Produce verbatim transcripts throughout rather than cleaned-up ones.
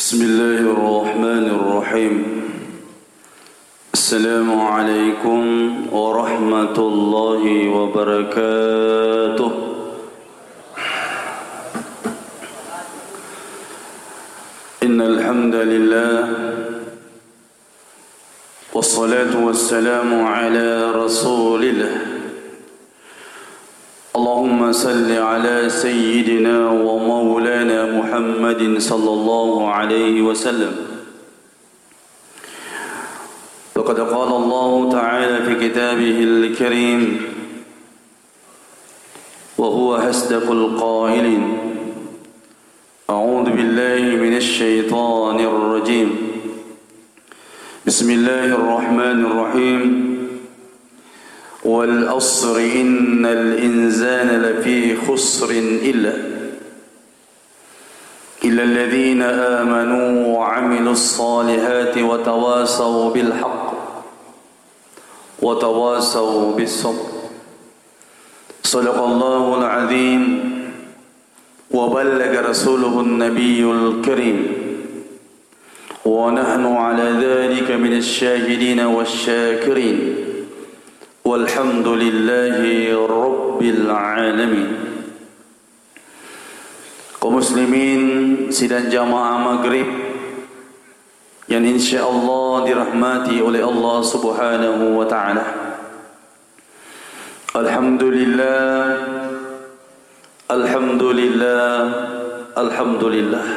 بسم الله الرحمن الرحيم. السلام عليكم ورحمة الله وبركاته. إن الحمد لله، والصلاة والسلام على رسول الله. اللهم صل على سيدنا ومولانا محمد صلى الله عليه وسلم. فقد قال الله تعالى في كتابه الكريم، وهو أصدق القائلين: أعوذ بالله من الشيطان الرجيم. بسم الله الرحمن الرحيم. والعصر إن الإنسان لفي خسر إلا إلا الذين آمنوا وعملوا الصالحات وتواصوا بالحق وتواصوا بالصبر. صدق الله العظيم وبلغ رسوله النبي الكريم ونحن على ذلك من الشاهدين والشاكرين والحمد لله رب العالمين. Kaum muslimin sidang jamaah maghrib yang insya Allah dirahmati oleh Allah Subhanahu wa Ta'ala. Alhamdulillah, alhamdulillah, alhamdulillah.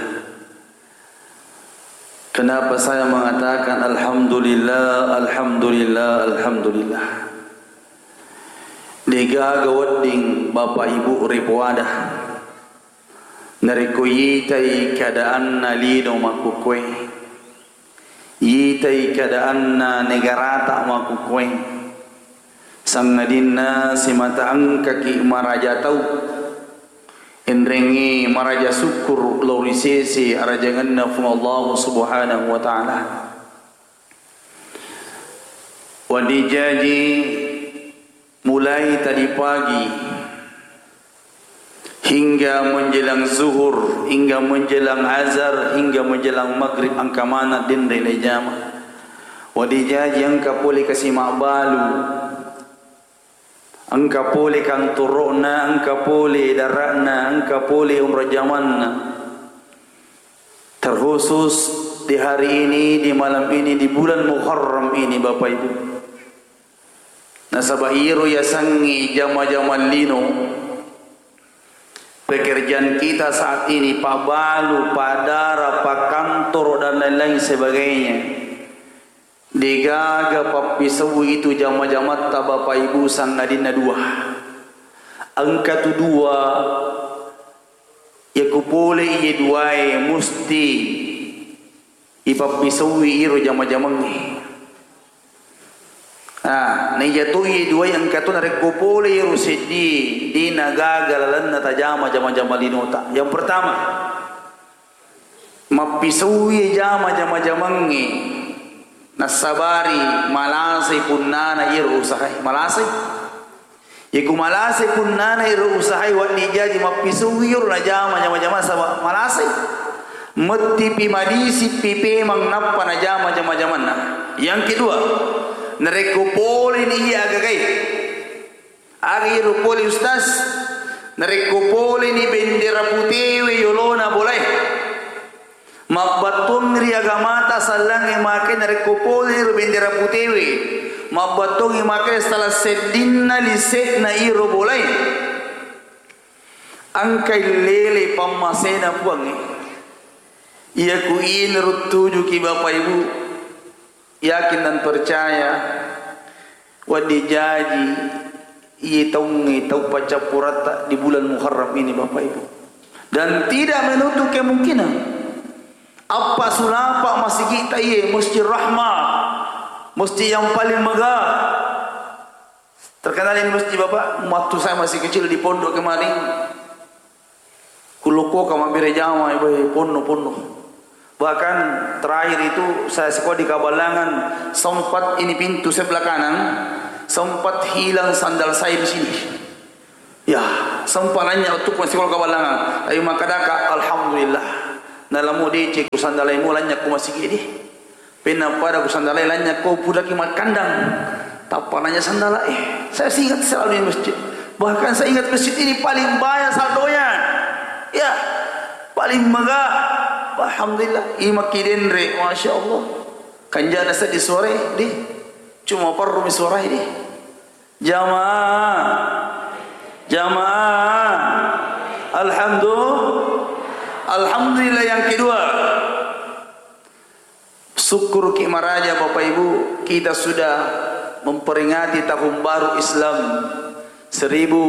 Kenapa saya mengatakan alhamdulillah, alhamdulillah, alhamdulillah? Degaga wedding Bapak Ibu ripoada narekko yitai keadaanna lino makkukkoe, yitai keadaanna negarata makkukkoe, sangadinna simata engkaki maraja tau, enrengngi maraja syukur lao ri sese arajangenna Puang Allah Subhanahu wa Ta'ala. Wedding jaji mulai tadi pagi hingga menjelang zuhur, hingga menjelang azar, hingga menjelang maghrib engka maneng denre le jama. Wedding jaji engka pole kasi mabbalu, engka pole kantoro'na, engka pole dara'na, engka pole onrong jamanna. Terkhusus di hari ini, di malam ini, di bulan Muharram ini, Bapak Ibu. Nasaba iro yasengnge jama-jama lino, pekerjaan kita saat ini, pabbalu, paddara, pakkantoro, dan lain-lain sebagainya. Degaga pappisaui itu jama-jamatta Bapak Ibu, sangadinna dua. Engka tu dua, yakku pole iye duae musti ipappisaui iro jama-jamangnge. Ah, naija to iye duae engka to narekko pole iro seddie, de nagaga lalenna tajama jama-jama linota. Yang pertama, mappisaui jama jama-jamangnge, nassabari malasai punnana iyaro usahae. Malasai. Iku malasai punnana iyaro usahae, wedding jaji mappisaui iyaro najama jama-jamanna, saba malasai. Mettipi madisippi pemeng nappa najama jama-jamanna. Yang kedua, narekko poleni iya agagae, aga iro pole, Ustaz? Narekko poleni bendera putewe yolona bolae, mabbattuang ri agamata sallangnge make, narekko poleni ro bendera putewe, mabbattuangngi make salah seddinna lise'na iro bolae, engkai lele pammasena Puangnge. Iyaku inaro tujuki Bapak Ibu, yakin dan percaya, wedding jaji iye taungnge tau paccappuratta di bulan Muharram ini, Bapak Ibu. Dan tidak menutup kemungkinan, appa sulapa masigitta iye, Masjid Rahmah, masjid yang paling megah. Terkenal ini masjid, Bapak, waktu saya masih kecil di pondok kemarin. Kulokkoka mabbere jama, ibae, ponno-ponno. Bahkan terakhir itu saya sekolah di Kabalangan, sempat ini pintu sebelah kanan, sempat hilang sandal saya di sini. Ya, sempat nanya waktu masih sekolah Kabalangan. Tapi makkedaka, alhamdulillah. Nalamo deceng ku sandalaimu lanynya ku masigi di. Penna pada ku sandalai lanynya ko pudaki makkandang. Tappa nanya sandala, eh, saya seingat selalu di masjid. Bahkan saya ingat masjid ini paling banyak saldonya. Ya, paling mega. Alhamdulillah, imaki denre, Masya Allah. Kanjana seddi suarai di. Cuma parrumi suarai di. Jamaah. Jamaah. Alhamdulillah. Alhamdulillah yang kedua. Sukkuruki maraja Bapak Ibu, kita sudah memperingati tahun baru Islam seribu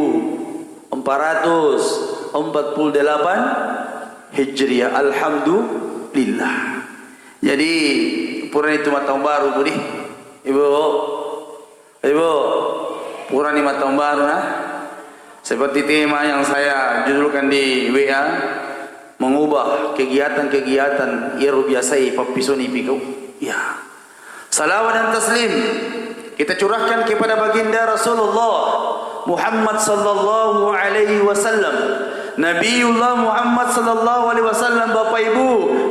empat ratus empat puluh delapan Hijriah. Alhamdulillah. Jadi, purani tu mattaung baru, Budi. Ibu. Ibu, purani mattaung baru, nah. Seperti tema yang saya judulkan di W A, mengubah kegiatan-kegiatan iyaro biasai pappisoni pikau. Ya. Salawat dan taslim kita curahkan kepada baginda Rasulullah Muhammad sallallahu alaihi wasallam. Nabiullah Muhammad sallallahu alaihi wasallam, Bapak Ibu,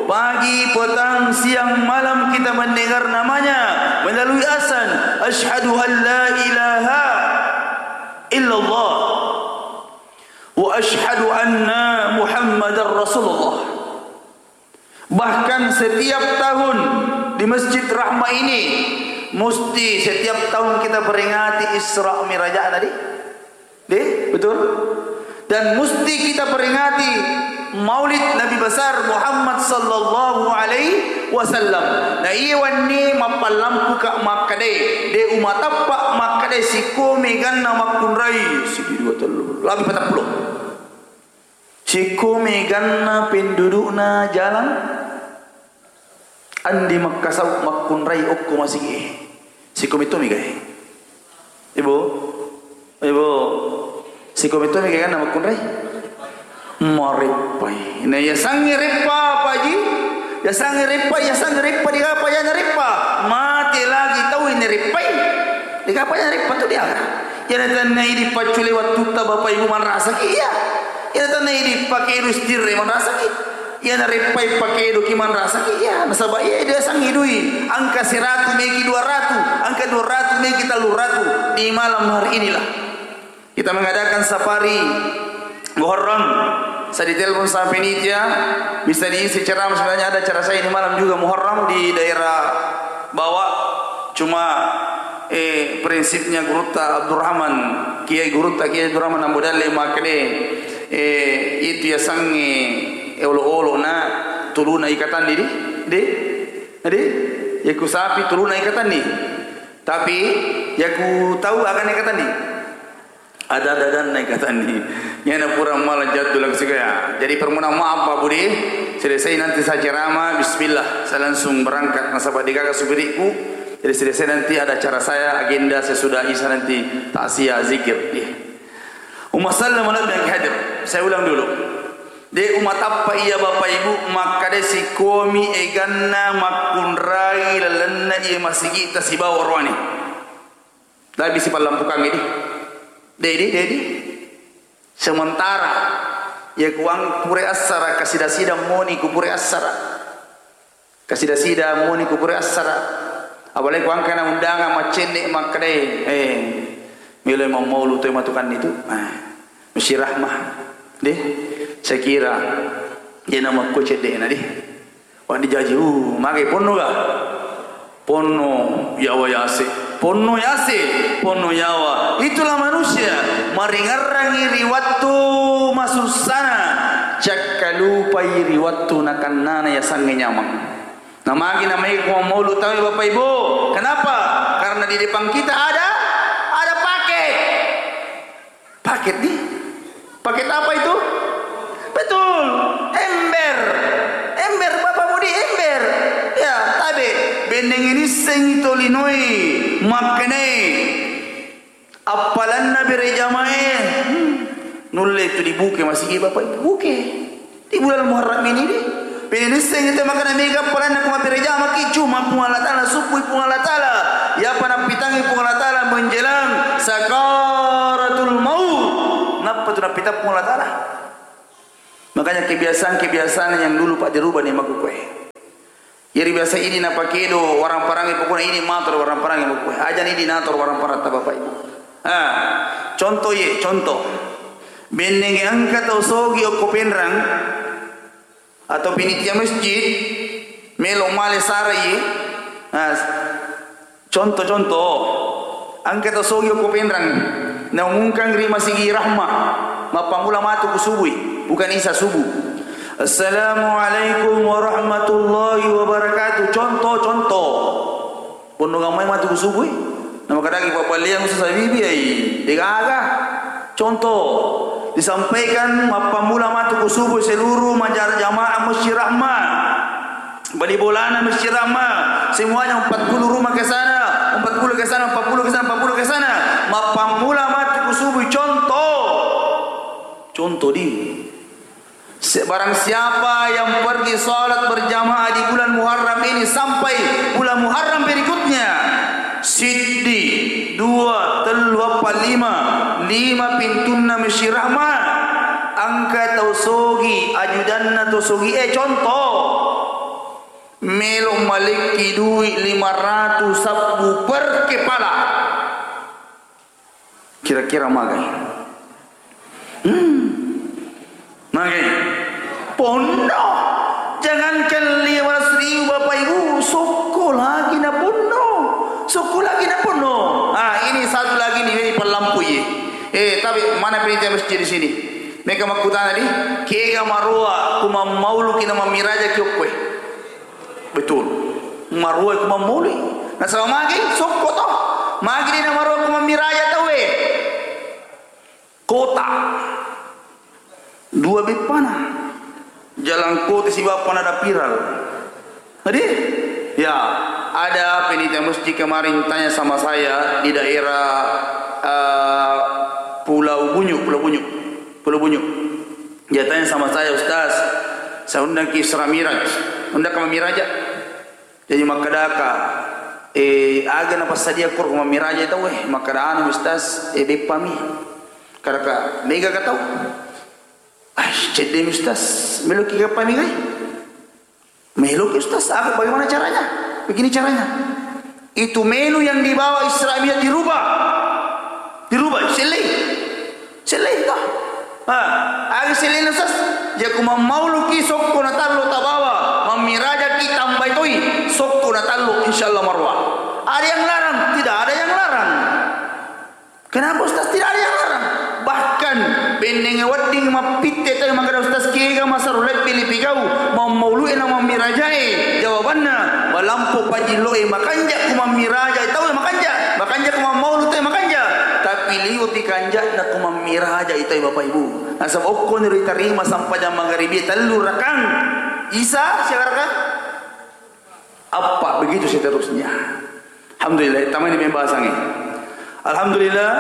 pagi, petang, siang, malam kita mendengar namanya melalui azan, "Asyhadu an la ilaha illallah wa asyhadu anna Muhammadar Rasulullah." Bahkan setiap tahun di Masjid Rahmah ini, mesti setiap tahun kita peringati Isra Mirajna, di? Di? Betul? Dan mesti kita peringati Maulid Nabi Besar Muhammad sallallahu alaihi wasallam. Na iya wenni mappallampuka makkadai, de umatappa makkadai sikko meganna makkunrai, siji, dua, tellu, lebbi patappulo. Sikko meganna pendudukna jalan, andi makkasau makkunrai okko masigi e. Sikko metto mega e. Ibu, ibu, sikko metto mega ganna makkunrai. Mareppai. Na yasangnge reppa, Pak Haji? Yasangnge reppa, yasangnge reppa, digapa yana reppa? Mate lagi tau ini reppai. Digapa yana reppa tu dia. Yana tanna idi paccule wattutta Bapak Ibu manrasaki iya. Iyana tanna idi pakedo istirre manrasaki. Iyana reppai pakedoki manrasaki. Iya, nasaba iya diasangngi dui. Angka seratu meki dua ratu, angka dua ratu meki tellu ratu di malam hari inilah. Kita mengadakan safari Muharram. Saya ditelepon sama penitia, bisa diisi ceramah, sebenarnya ada acara saya ini malam juga Muharram di daerah Bawa. Cuma, eh, prinsipnya Gurutta Abdurrahman, Kiai Gurutta Kiai Abdurrahman Ambo Dalle makkeda, eh, itu yasengnge, eh, olo-olo na tuluna ikatanni di, di, di, yaku sapi tuluna ikatanni. Tapi yaku tau agana ikatanni. Ada-adanna ikatanni. Iyana pura mala jaddu langsung ya. Jadi permohonan maaf Pak Budi. Selesai nanti saya ceramah, bismillah, saya langsung berangkat nasaba degaga supirikku. Jadi selesai nanti ada acara saya, agenda saya sudah isa nanti takziah zikir. Iya. Umma sallam ala nabi yang hadir. Saya ulang dulu. De umatappa iya Bapak Ibu makkada sikomi eganna makkunrai lalenna iya masigitta sibawa oroane. Lebbi sipallampukangngi di. Dedi, dedi. Sementara iya kuang pura assara, kasida-sida moni ku pura assara. Kasida-sida moni ku pura assara. Apalagi kuang kana undangan maccenne makkedai, eh, melo mammaulu toi matukanni tu. Eh, mesti rahmah. Deh, saya kira dia nama ku cedde na deh. Wah, dijaji, uh, mage ponno ga? Ponno yawa yase. Ponno yase, ponno yawa. Itulah manusia, maringerrangi ri wattu masussana, cakkalupai ri wattu nakannana yasangnge nyameng. Namagi namai ko maulu tawe Bapak Ibu. Kenapa? Karena di depan kita ada, ada paket. Paket nih. Paket apa itu? Betul. Ember. Ember, Bapak Budi, ember. Ya, tabe. Benneng ini sengi tolinoi. Maknai. Appalanna bere jamae. Hmm. Nulle itu dibuke masigi Bapak Ibu. Buke. Di bulan Muharram ini deh. Pede nisseng itu makana mega paranna ku mabbere jamaki, cuma Puang Allah Ta'ala, subbui Puang Allah Ta'ala. Iyapa nappitangi Puang Allah Ta'ala menjelang sakaratul maut. Nappa tu nappitang Puang Allah Ta'ala? Makanya kebiasaan-kebiasaan yang dulu, Pak, dirubah nih makkukue. Jadi biasa ini napakedo warang parangi, pokoknya ini mator warang parangi makkukue. Aja ini dinator warang parang ta, Bapak Ibu. Ah, contoh ye, contoh. Benneng engka tau sogi okko Penrang atau penitia masjid, melo male sara ye. Ah, Contoh-contoh, engka tau sogi okko Penrang, naumumkang ri Masigi Rahma, mappammula matu ku subui, bukan isa subuh. "Assalamualaikum warahmatullahi wabarakatuh." Contoh, contoh. Ponnongang mai matu ku subui. Namakadaki pabbaliang Ustaz Habibi, ai, degaga. Contoh, disampaikan mappammula matu ku subui seluruh majar-, jamaah Masjid Rahma. Bali bolana Masjid Rahma, semuanya empat puluh rumah ke sana, empat puluh ke sana, empat puluh ke sana, empat puluh ke sana. Mappammula matu ku subuh, contoh. Contoh di. Se-, barang siapa yang pergi salat berjamaah di bulan Muharram ini sampai bulan Muharram berikutnya, siddi, dua, tellu, appa, lima, lima pintunna Masjid Rahma, engka tau sogi, ajudanna tau sogi, eh, contoh. Melo malekki dui lima ratu sabbu per kepala. Kira-kira magai? Hmm. Magai? Ponno. Jangankan lima ratus ribu, Bapak Ibu, sokko lagi na ponno. Sokko lagi na ponno. Ah, ini satu lagi nih, ini pallampu ye. Eh, tapi mana panitia masjid di sini? Meka makkutana di, kega maroa ku mammauluki na mammiraja ki okkoe. Betul. Maruai ku mammaului. Nasaba magi sokko to. Magi de na maruai ku mammiraja tauwe. Kota. Dua beppana. Jalan kota sibawa pana ada viral. Jadi, ya, ada panitia masjid kemarin tanya sama saya di daerah, eh, Pulau Bunyu, Pulau Bunyu. Pulau Bunyu. Dia tanya sama saya, "Ustaz, saya undang ke Isra Miraj. Undang ke Miraj?" Jadi makkedaka, "Eh, aga napassadia koro mammiraja tau, eh?" Makkeda, "Anu, Ustaz, eh, beppami." Kadaka, "Mega ka tau?" "Ai, cedde mi, Ustaz. Meloki kappa megai?" "Meloki, Ustaz. Aga, bagaimana caranya?" "Begini caranya. Itu menu yang dibawa Isra Mi'raj dirubah." Dirubah, sellei. Sellei, toh. Ha, aga selleina, Ustaz? Jaku mammauluki sokko na tallo tabawa, mammirajaki tambai toi sokko na tallo, insyaallah maruwa. Ada yang larang? Tidak ada yang larang. Kenapa, Ustaz, tidak ada yang larang? Bahkan bennenge wedding mappitte tau makkeda, "Ustaz, kega masero lebbi lipigau mammaulu'e na mammirajae?" Jawabanna, malampu pajillo'e makanja ku mammiraja tau makanja, makanja ku mammaulu tau makanja. Tapi liwepi kanja'na ku mammiraja tau, Bapak Ibu. Nasaba okkoniro itarima sampajang magaribi tellu rakang. Isa siaga rakang? Appa, begitu seterusnya. Alhamdulillah, tamani pembahasangnge. Alhamdulillah,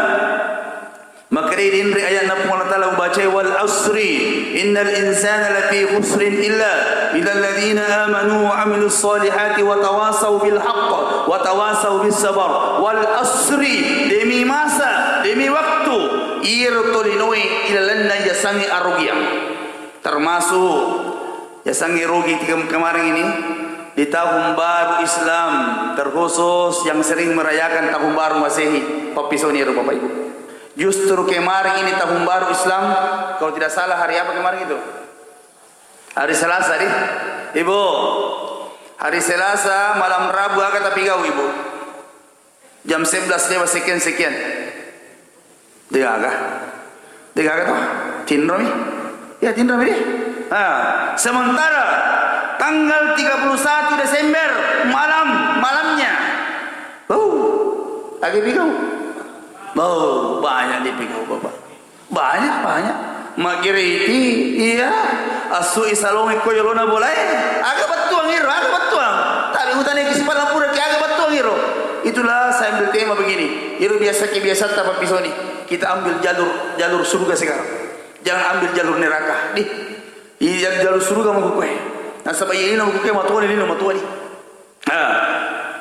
makkedai dinri ayatna Puang Allah Ta'ala ubacai, "Wal asri, innal insana lafi khusrin illa, illa alladzina amanu wa amilus salihati wa tawasau bil haqq, wa tawasau bis sabar." Wal asri, demi masa, demi waktu, iyaro tolinoe ilalenna yasengnge arugiang. Termasuk yasengnge rugi tiga kemarin ini, di tahun baru Islam, terkhusus yang sering merayakan tahun baru Masehi, pappisoni ro Bapak Ibu. Justru kemarin ini tahun baru Islam, kalau tidak salah hari apa kemarin itu? Hari Selasa, di? Ibu, hari Selasa, malam Rabu, aga tapigau, Ibu? Jam sebelas lewat sekian-sekian. Degaga. Degaga toh? Tinromi. Ya, tinromi deh. Nah, sementara tanggal tiga puluh satu Desember malam, malamnya. Oh, lagi pigau. Oh, banyak dipigau, Bapak. Banyak, banyak. Magiriti, iya. Asui salongi ko yolona bolae. Aga bettuang iro, aga bettuang. Tapi utane ki sipala pura ki aga bettuang iro. Itulah saya ambil tema begini. Iro biasa ki biasa ta pappisoni. Kita ambil jalur, jalur surga sekarang. Jangan ambil jalur neraka. Di, iya, jalur surga mau kue. Nasaba iya lino kue matuani, lino matuani. Ah,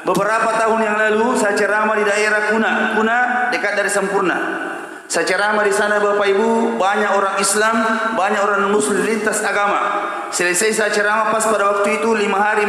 beberapa tahun yang lalu saya ceramah di daerah Kuna. Kuna dekat dari Sempurna. Saya ceramah di sana, Bapak Ibu, banyak orang Islam, banyak orang Muslim lintas agama. Selesai saya ceramah, pas pada waktu itu, lima hari